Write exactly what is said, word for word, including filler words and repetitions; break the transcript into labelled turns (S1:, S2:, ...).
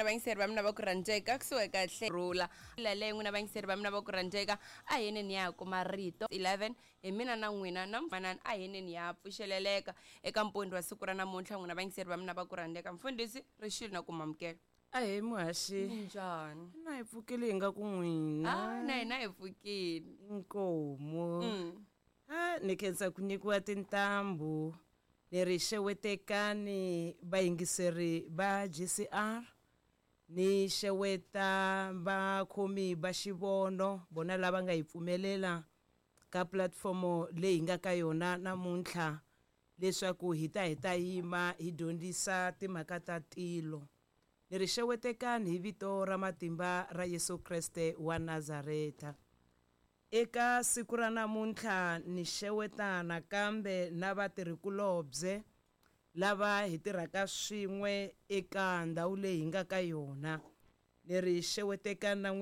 S1: Vayingiseri va mina va ku rhandzeka, kusuhi kahle rhula leyi n'wina vayingiseri va mina va ku rhandzeka, a heneni ya kuma rito eleven hi mina na n'wina na manani, a heneni ya pfuxeleleka eka mpundzu wa siku ra namuntlha. N'wina vayingiseri va mina va ku rhandzeka, mfundhisi rixile na ku mamukela.
S2: Ahee muhaxi.
S1: Minjhani?
S2: Na hi pfukile hi nga ku n'wina.
S1: Ah, na hina hi pfukile.
S2: Inkomu.
S1: Mm.
S2: A ni khensa ku nyikiwa tintambu ni ri xewetekani vayingiseri va G C R, ni xeweta vakhomi va xivono vona lava nga hi pfumelela ka platformo leyi hi nga ka yona namuntlha leswaku hi ta hi ta yima hi dyondzisa timhaka ta tilo. Ni ri xewetekani hi vito ra matimba ra Yesu Kreste wa Nazareta. Eka siku ra namuntlha ni xeweta nakambe na vatirhikulobye lava hi tirhaka swin'we eka ndhawu leyi hi nga ka yona. Ni ri xewetekani na